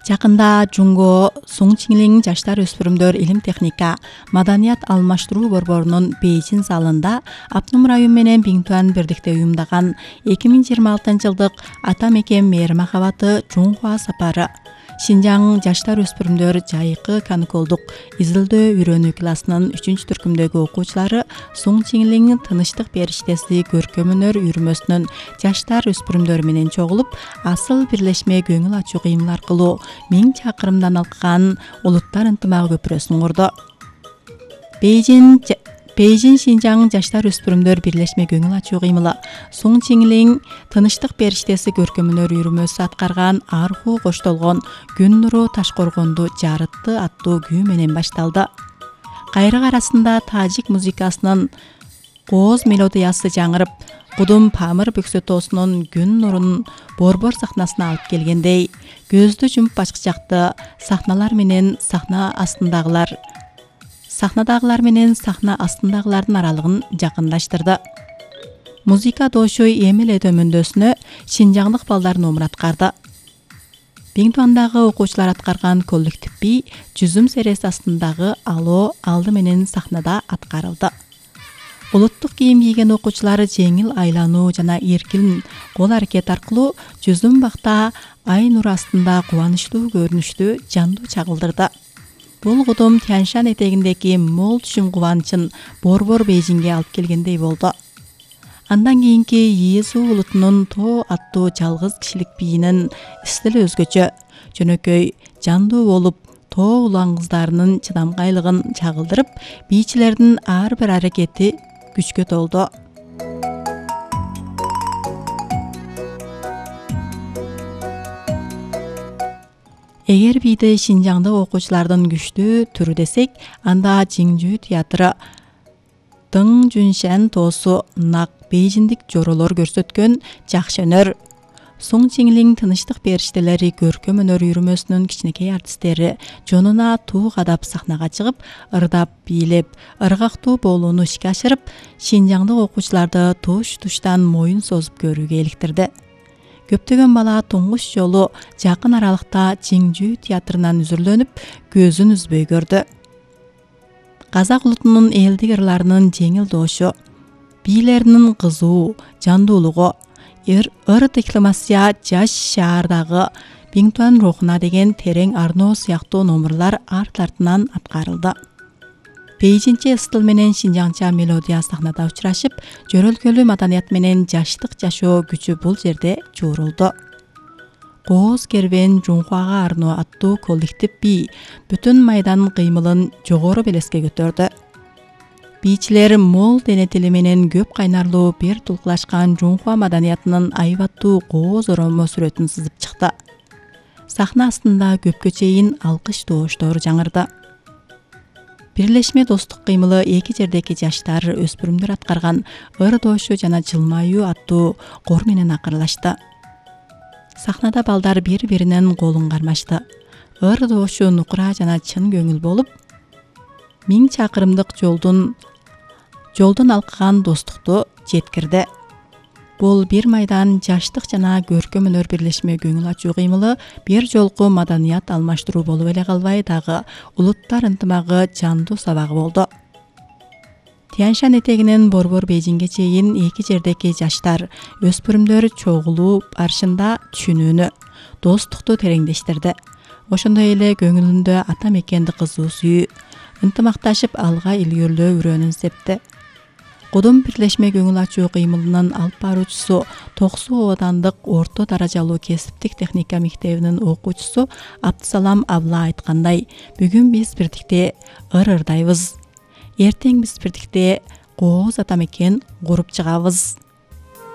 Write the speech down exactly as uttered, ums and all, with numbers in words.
Жакында Жунго Суңчиңлин жаштар өспүрүмдөр илим техника маданият алмаштыруу борборунун Бейжин залында Апнум район менен Биңтуан бирдикте уюмдаган эки миң жыйырма алтынчы жылдык ата мекен мээр махабаты Жунхуа сапары Шинжаң жаштар өспүрүмдөр жайкы каникулдук изилдөө үйрөнүү классынын үчүнчү түркүмдөгү окуучулары Суңчиңлин тынычтык периштеси көркөм өнөр үйрүмөсүнүн жаштар өспүрүмдөр менен чогулуп, асыл бирлешме көңүл ачуу кыймыл аркылуу миң чакырымдан алкан улуттар ынтымагы көпүрөсүн курду. Бейжин Бейжин Шинжаң жаштар өспүрүмдөр бирлешме көңүл ачуу кыймылы Суңчиңлин тынычтык периштеси көркөм өнөр үйрүмөсү аткарган арху коштолгон күн нуру Ташкоргонду жарытты аттуу күү менен башталды. Кайрык арасында тажик музыкасынын кооз мелодиясы жаңырып, Кудум Памыр Бөксөтоосунун күн нурун борбор сахнасына алып келгендей, көздү жумуп ачкычакты сахналар менен сахна астындагылар Сахнадагылар менен сахна астындагылардын аралыгын жакындаштырды. Музыка дошу эми эле төмөндөсүнө шинжаңдык балдар номур аткарды. Биңтуандагы окуучулар аткарган коллектив би жүзүм сереси астындагы Ало алды менен сахнада аткарылды. Улуттук кийим кийген окуучулар жеңил айлануу жана эркин кол аракет аркылуу жүзүм бакта ай нуру астында кубанычтуу көрүнүштү жандуу чагылдырды. Бул кудум Тяньшан этегиндеги мол түшүм кубанычын борбор Бейжинге алып келгендей болду. Андан кийинки Иесу улутунун Тоо аттуу жалгыз кишилик бийинин стили өзгөчө, жөнөкөй, жандуу болуп, Тоо улан кыздарынын чыдамкайлыгын чагылдырып, бийчилердин ар бир аракети күчкө толду. Эгер бийди Шинжаңда окуучулардын күчтүү түрү десек, анда Жиңжүү театры Дың Жүншан тоосу нак бейжиндик жоролор көрсөткөн жакшы өнөр, Суңчиңлин тынычтык периштелери көркөм өнөр үйрүмөсүнүн кичинекей артисттери жонуна туу кадап сахнага чыгып, ырдап, бийлеп, ыргактуу болууну ишке ашырып, Шинжаңдык окуучуларды туш-туштан моюн созуп көрүүгө иликтирди. Көптөгөн бала туңгуч жолу жакын аралыкта Жиңжүү театрынан үзүрлөнүп, көзүн үзбөй көрдү. Казак улутунун элдик ырларынын жеңил доошу, бийлеринин кызуу, жандуулугу, ыр декламация жаш шаардагы Биңтуан рухуна деген терең арноо сыяктуу номурлар арт артынан аткарылды. Бейжинче стил менен шинжаңча мелодия сахнада учурашып, жөрөлгөлүү маданият менен жаштык жашоо күчү бул жерде жуурулду. Кооз кербен Жунхуага арноо аттуу коллектив би бүтүн майдан кыймылын жогору белеске көтөрдү. Бийчилер мол дене тили менен көп кайнарлуу бир тулкулашкан Жунхуа маданиятынын айбаттуу кооз оромо сүрөтүн сызып чыкты. Сахна астында көпкө чейин алкыш тооштор жаңырды. Бирлешме достук кыймылы эки жердеги жаштар өспүрүмдөр аткарган ыр доошу жана жылмаюу аттуу кор менен акырлашты. Сахнада балдар бири-биринин колун кармашты. Ыр доошу нукура жана чын көңүл болуп, миң чакырымдык жолдун жолдон алкаган достукту жеткирди. Бул бир майдан жаштык жана көркөм өнөр бирлешме көңүл ачуу кыймылы бир жолку маданият алмаштыруу болуп эле калбай, дагы улуттар ынтымагы жандуу сабагы болду. Тяньшан этегинен борбор Бейжинге чейин эки жердеги жаштар, өспүрүмдөр чогулуу барышында түшүнүүнү, достукту тереңдештирди. Ошондой эле көңүлүндө ата мекенди кызуу сүйүү, ынтымакташып алга илгөрлөө үрөөнүн септи. Кудум бирлешме көңүл ачуу кыймылынын алып баруучусу Токсу оодандык орто даражалуу кесиптик техника мектебинин окуучусу Абдысалам абла айткандай, бүгүн биз бирдикте ыр ырдайбыз. Эртең биз бирдикте кооз ата мекен куруп чыгабыз.